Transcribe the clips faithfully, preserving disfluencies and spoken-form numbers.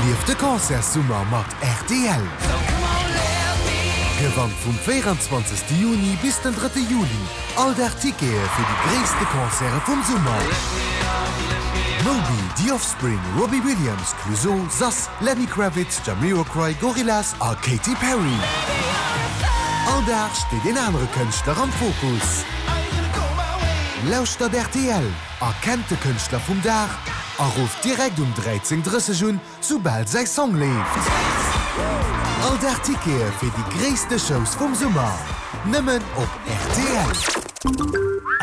Erlief de Concertssummer mat rtl! Gewannt vum véierenzwanzegste Juni bis den drëtte Juli all Dag Tickete fir déi gréisste Concerte vum Summer! Moby, The Offspring, Robbie Williams, Clouseau, Sass, Lenny Kravitz, Jamiroquai, Gorillaz a Katy Perry. All Dag steet een anere Kënschtler am Fokus. Lauschtert rtl, erkennt de Kënschtler vum Dag a rufft direkt um dräizéng drësseg un, soubal säi Song leeft. All Dag Tickete fir déi gréisste Shows vum Summer, nëmmen op rtl.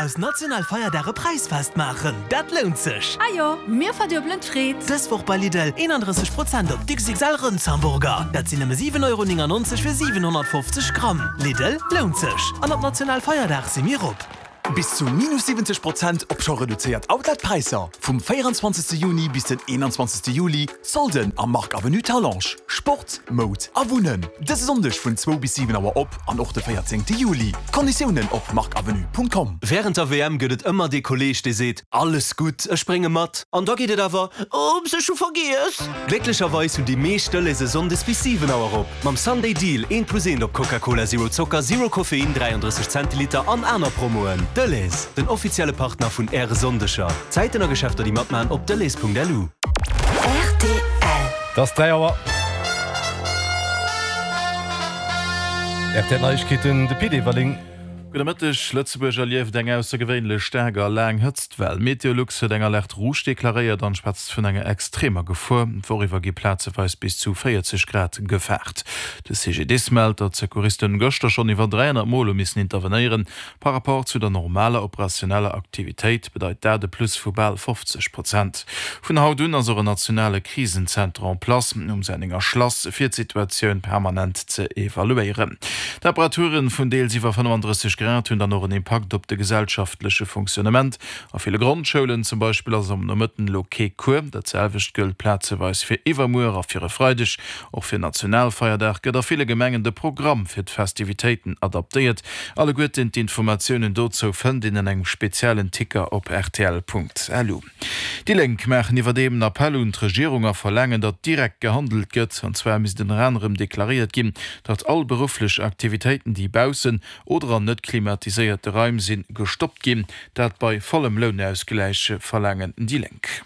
Aus Nationalfeierdag e Präisfest maachen, dat lount sech! Ajo, mir verduebelen d'Freed! Dës Woch bei Lidl, eenandrësseg Prozent op d'X X L Rëndshamburger, dat sinn nëmme siwen Euro néngannonzeg fir siwenhonnertfofzeg Gramm. Lidl, lount sech! An op Nationalfeierdag si mir op! Bis zu minus siwwenzeg Prozent op scho reduzéiert Outlet-Präisser vum véierenzwanzegste Juni bis den eenanzwanzegste Juli, Solden am Marc Avenue Talange. Sport, Moud a Wunnen. Dëse Sonndeg vun zwou bis siwen Auer op an och de véierzéngte Juli. Konditiounen op marcavenue Punkt com. Wärend der W M gëtt et ëmmer dee Kolleeg, dee seet, Alles gutt, ech sprénge mat. An da geet et awer, Oops, ech hu vergiess! Glécklecherweis hunn déi meescht Delhaize sonndes bis siwen Auer op. Mam Sunday Deal, eent plus eent op Coca-Cola Zero Zocker, Zero Koffein, dräiandrësseg Zentiliter an aner Promoen. Delhaize, den offizielle Partner vun Äre Sonndeger. Zäiten a Geschäfter déi matmaachen op delhaize Punkt L U. R T L. Et ass dräi Auer. R T L Neiegkeeten, de Pit Everling. Gudde Mëtteg. Lëtzebuerg erlieft eng aussergewéinlech staark a laang Hëtztwell. Meteolux huet eng Alerte rouge deklaréiert an schwätzt vun enger extremer Gefor. D'Woch iwwer gi plazeweis bis zu véierzeg Grad gefaart. De C G D I S mellt, datt d'Secouristen gëschter schonn iwwer dräihonnert Mol hu missen intervenéieren. Par rapport zu der normaler operationeller Aktivitéit bedeit dat e Plus vu bal fofzeg Prozent. Vun haut un ass och en nationale Krisenzenter en place um Sennenger Schlass, fir d'Situatioun permanent ze evaluéieren. Temperaturen vun deels iwwer fënnefandrësseg Grad hunn dann och en Impakt op de gesellschaftleche Fonctionnement. A ville Grondschoulen zum Beispill ass am Nomëtten elo kee Cours. Dat selwecht gëllt plazeweis fir iwwermuer a fir e Freideg. Och fir Nationalfeierdag gëtt a ville Gemengen de Programm fir d'Festivitéiten adaptéiert. Alleguerten d'Informatiounen dozou fënnt een an engem speziellen Ticker op rtl Punkt L U. Déi Lénk maachen iwwerdeem en Appell un d'Regierung a verlaangen, datt direkt gehandelt gëtt. An zwar misst ënner anerem deklaréiert ginn, datt all berufflech Aktivitéiten, déi baussen oder an net klimatiséierte Raim sinn, gestoppt ginn. Dat bei vollem Lounausgläich, verlaangen déi Lénk.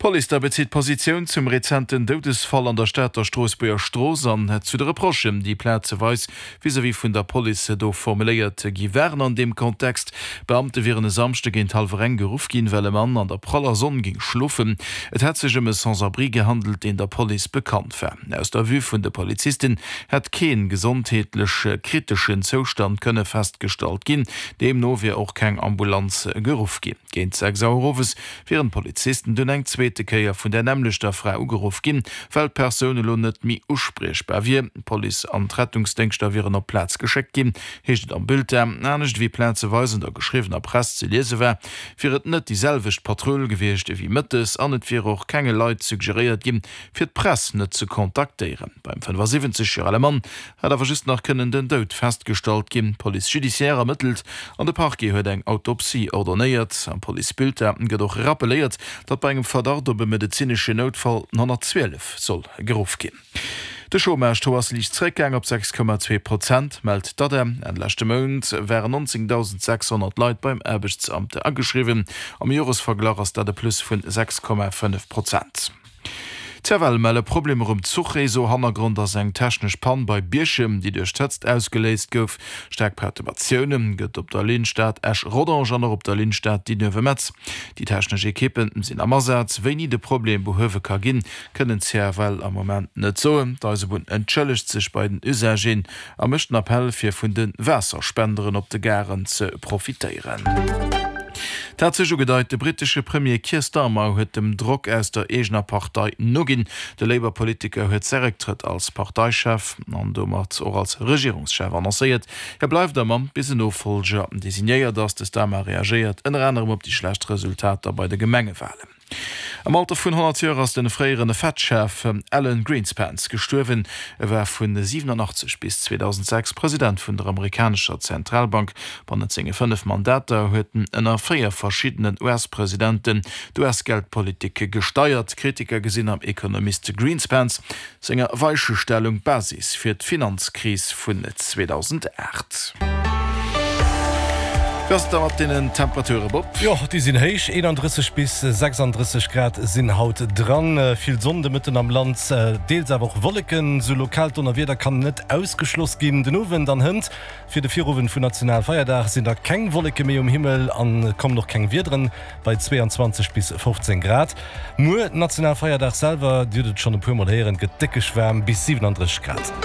D'Police da bezitt Positioun zum rezenten Doudesfall an der Stater Stroossbuerger Strooss an zu de Reprochen, déi plazeweis vis-à-vis vun der Police do formuléiert gi waren an deem Kontext. Beamte wieren e Samschde géint hallwer eng geruff ginn, well e Mann an der praller Sonn géing schlofen. Et hätt sech ëm e Sans-abri gehandelt, deen der Police bekannt war. Aus der Vue vun de Polizisten hätt kee gesondheetlech kriteschen Zoustand kënne festgestallt ginn. Deemno wier och keng Ambulanz geruff ginn. Géint sechs Auer owes wieren d'Polizisten dunn eng zweete Kéier vun der nämmlechter Fra ugeruff ginn, well d'Persoun elo net méi uspriechbar wier. D'Police an d'Rettungsdéngschter wieren op d'Plaz geschéckt ginn, heescht et am Bulletin. Anescht ewéi plazeweis an der geschriwwener Press ze liese war, wier et net déi selwecht Patrull gewiescht ewéi mëttes an et wier och kenge Leit suggeréiert ginn, fir d'Press net ze kontaktéieren. Beim fënnefasiwwenzeg Joer ale Mann hätt awer just nach kënnen den Doud festgestallt ginn. D'Police judiciaire ermëttelt an de Parquet huet eng Autopsie ordonéiert. Am Policebulletin gëtt och rappeléiert, datt bei engem Verdacht op e medezineschen Noutfall den honnertzwielef soll geruff ginn. De Chômage-Taux ass liicht zeréckgaang op sechs Komma zwee Prozent, mellt d'ADEM. Enn leschte Mount waren nonzéngdausend sechshonnert Leit beim Aarbechtsamt ageschriwwen. Am Joresverglach ass dat e Plus vun sechs Komma fënnef Prozent. D'C F L melle Problemer um Zuchreseau. Hannergrond ass eng technesch Pann bei Bierchem, déi duerch d'Hëtzt ausgeléist gouf. Staark Perturbatioune gëtt op der Linn Stad-Esch-Rodange an och op der Linn Stad-Dinuewe-Metz. Déi technesch Ekippe sinn am Asaz. Wéini de Problem behuewe ka ginn, kënnen d'C F L am Moment net soen. D'Eisebunn entschëllegt sech bei den Usageren a mécht den Appell, fir vun de Waasserspenderen op de Garen ze profitéieren. Et hat sech ugedeit, de brittesche Premier Keir Starmer huet dem Drock aus der eegener Partei noginn. De Labour-Politiker huet säi Récktrëtt als Parteichef an domat och als Regierungschef annoncéiert. Hie bleift am Amt, bis en Nofollger designéiert ass. De Starmer reagéiert ënner anerem op déi schlecht Resultater bei de Gemengewalen. Am Alter vun honnert Joer ass de fréiere Fed-Chef Alan Greenspan gestuerwen. E war vun siwenanachtzeg bis zweedausendsechs President vun der amerikanescher Zentralbank. Bannent senge fënnef Mandater huet en ënner véier verschiddenen U S-Presidenten d'U S-Geldpolitik gesteiert. Kritiker gesinn am Ekonomist Greenspans senger Weichestellung d'Basis fir d'Finanzkris vun zweedausendacht. Wéi ass et da mat deenen Temperature, Bob? Jo, déi sinn héich, eenandrësseg bis sechsandrësseg Grad sinn haut dran. Vill Sonn de Mëtten am Land, deels awer och Wolleken. Sou lokaalt Donnerwieder kann net ausgeschloss ginn. Den Owend an hënt fir de Virowend vun Nationalfeierdag sinn da keng Wolleke méi um Himmel an kommen och keng Wiederen, bei zweeanzwanzeg bis fofzéng Grad. Muer, Nationalfeierdag selwer, Dir hutt et schonn e puer Mol héieren, gëtt déckeg waarm, bis siwenandrësseg Grad.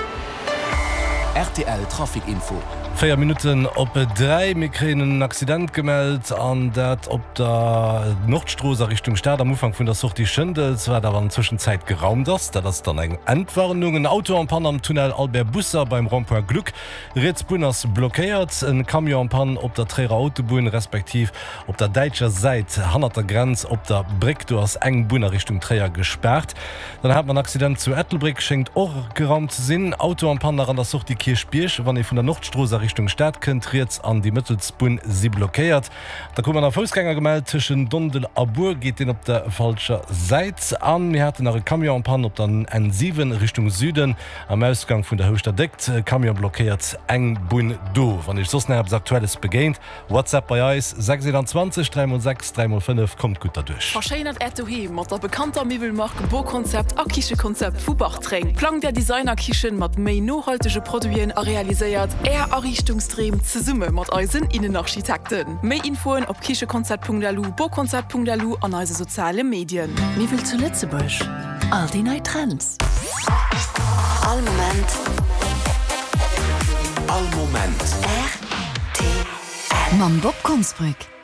Rtl Trafic Info. Véier Minutten op dräi, mir kréien en Accident gemellt an dat op der Nordstrooss a Richtung Stad am Ufank vun der Sortie Schëndels, wat awer an Tëschenzäit geraumt ass. Dat ass dann eng Entwarnung. En Auto en panne am Tunnel Albert Busser beim Rond-point Gluck, riets Bunn ass blockéiert. En Camion en panne op der Tréierer Autobunn, respektiv op der däitscher Säit hannert der Grenz op der Bréck, do ass eng Bunn a Richtung Tréier gespaart. Dann hat mer en Accident zu Ettelbréck, schéngt och geraumt ze sinn. Auto en panne nach an der Sortie Kierchbierg, wann ee vun der Nordstrooss a Richtung Stad kënnt, riets an déi mëttelst Bunn si blockéiert. Da krute mer nach e Foussgänger gemellt, tëschent Dondel a Bur geet deen op der falscher Säit. A mir haten nach e Camion en panne op der N siwen Richtung Süden am Ausgang vun der Houschter Déckt. Camion blockéiert eng Bunn do. Wann iech soss nach eppes Aktuelles begéint, WhatsApp bei eis, sechs eenanzwanzeg dräi mol sechs dräi mol fënnef. Kommt gutt derduerch. Verschéinert Äert Doheem mat der bekannter Miwwelmark Boconcept a Kichekonzept vu Bartreng. Plangt Är Designerkichen mat méi nohaltege Produiten a realiséiert Är Ariichtungsdreem zesumme mat eisen Innenarchitekten. Méi Infoen op kichekonzept Punkt L U, boconcept Punkt L U an eise soziale Medien. Miwwel zu Lëtzebuerg, all déi nei Trends. All Moment. All Moment. R T L. Mam Bob Konsbrück.